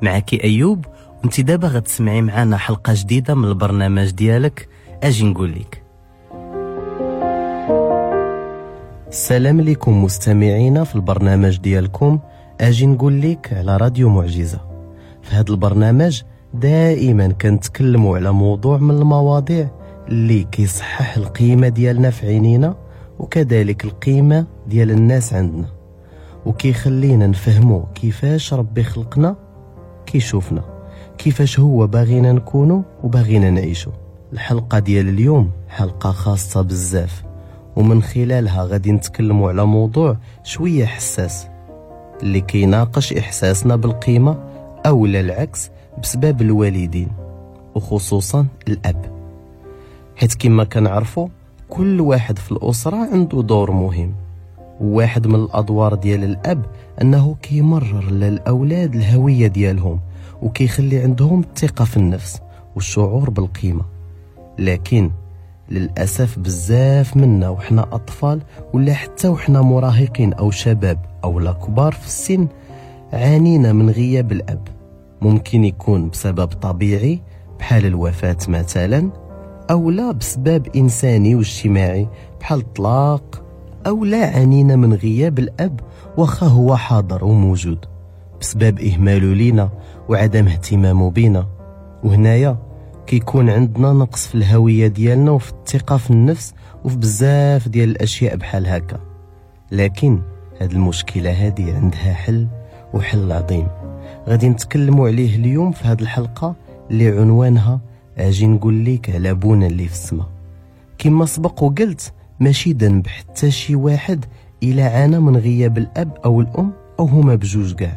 معك أيوب، وانت دابا غتسمعي معنا حلقة جديدة من البرنامج ديالك أجي نقول لك. السلام لكم مستمعينا في البرنامج ديالكم أجي نقول لك على راديو معجزة. في هذا البرنامج دائما كنتكلموا على موضوع من المواضيع اللي كيصحح القيمة ديالنا في عينينا، وكذلك القيمة ديال الناس عندنا، وكيخلينا نفهموا كيفاش ربي خلقنا، كيشوفنا كيفاش هو باغينا نكونوا وباغينا نعيشوا. الحلقة ديال اليوم حلقة خاصة بزاف، ومن خلالها غادي نتكلموا على موضوع شوية حساس اللي كيناقش إحساسنا بالقيمة أو العكس بسبب الوالدين، وخصوصا الأب، حيت كما كنعرفوا كل واحد في الأسرة عنده دور مهم. وواحد من الأدوار ديال الأب أنه كيمرر للأولاد الهوية ديالهم، وكيخلي عندهم الثقة في النفس والشعور بالقيمة. لكن للأسف بزاف منا وحنا أطفال ولا حتى وحنا مراهقين أو شباب أو لا كبار في السن عانينا من غياب الأب. ممكن يكون بسبب طبيعي بحال الوفاة مثلا، أو لا بسبب إنساني واجتماعي بحال الطلاق، أو لا عانينا من غياب الأب وخا هو حاضر وموجود بسبب إهماله لينا وعدم اهتمامه بينا. وهنايا كيكون عندنا نقص في الهوية ديالنا وفي الثقة في النفس وفي بزاف ديال الأشياء بحال هكا. لكن هاد المشكلة هادي عندها حل، وحل عظيم غادي نتكلموا عليه اليوم في هاد الحلقة اللي عنوانها أجي نقول لك على بونا اللي في السما. كما سبق وقلت ماشي ذنب حتى شي واحد إلا عانى من غياب الأب أو الأم أو هما بجوج كاع.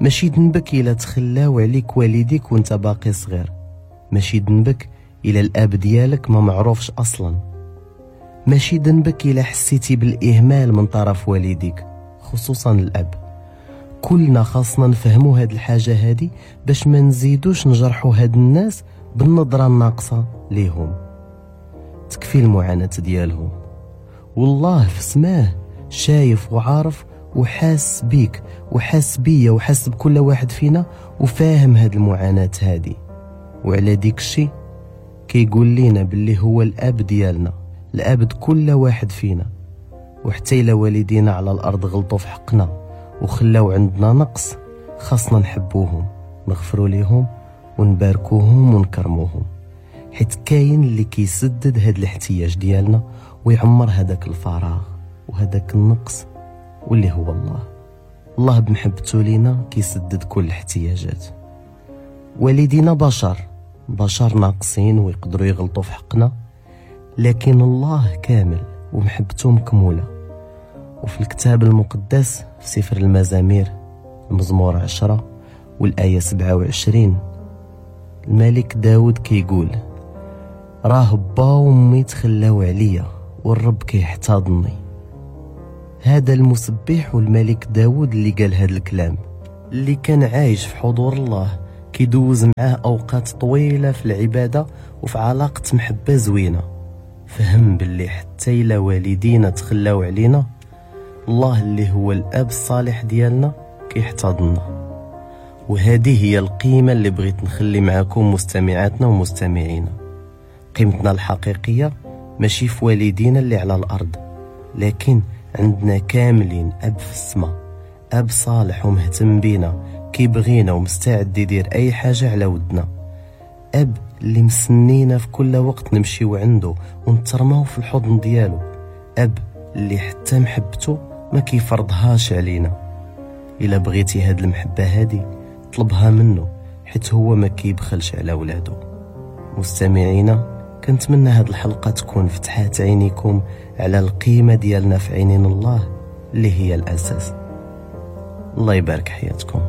ماشي ذنبك إلا تخلاو عليك والديك وانت باقي صغير. ماشي ذنبك إلا الأب ديالك ما معروفش أصلا. ماشي ذنبك إلا حسيتي بالإهمال من طرف والديك، خصوصا الأب. كلنا خاصنا نفهموا هاد الحاجة هادي باش ما نزيدوش نجرحوا هاد الناس بالنظرة الناقصة ليهم. تكفي المعاناة ديالهم، والله في سماه شايف وعارف وحاس بيك وحاس بيا وحاس بكل واحد فينا وفاهم هاد المعاناة هادي. وعلى ديك الشي كيقول لينا باللي هو الأب ديالنا، الأب كل واحد فينا. وحتى إلا والدينا على الأرض غلطوا في حقنا وخلاو عندنا نقص، خاصنا نحبوهم، نغفروا ليهم ونباركوهم ونكرموهم، حيت كاين اللي كيسدد هاد الاحتياج ديالنا ويعمر هذاك الفراغ وهذاك النقص، واللي هو الله. الله بمحبته لينا كيسدد كل الاحتياجات. والدينا بشر ناقصين ويقدروا يغلطوا في حقنا، لكن الله كامل ومحبته مكمولة. وفي الكتاب المقدس في سفر المزامير المزمور 10 والآية 27 الملك داود كيقول راه با وامي تخلاو عليا والرب كيحتضني. هذا المسبح والملك داود اللي قال هذا الكلام، اللي كان عايش في حضور الله، كيدوز معاه أوقات طويلة في العبادة وفي علاقة محبة زوينة. فهم باللي حتى إلا والدينا تخلاو علينا، الله اللي هو الأب الصالح ديالنا كيحتضننا. وهذه هي القيمة اللي بغيت نخلي معكم مستمعاتنا ومستمعينا. قيمتنا الحقيقية ماشي في والدينا اللي على الأرض، لكن عندنا كاملين أب في السماء، أب صالح ومهتم بينا، كيبغينا ومستعد يدير أي حاجة على ودنا، أب اللي مسنينا في كل وقت نمشيو عنده ونترماو في الحضن ديالو، أب اللي حتى محبته ما كيفرضهاش علينا. إلا بغيتي هاد المحبة هادي طلبها منه، حيت هو ما كيبخلش على ولادو. مستمعينا، كنتمنى هاد الحلقة تكون فتحات عينيكم على القيمة ديالنا في عينين الله اللي هي الأساس. الله يبارك حياتكم.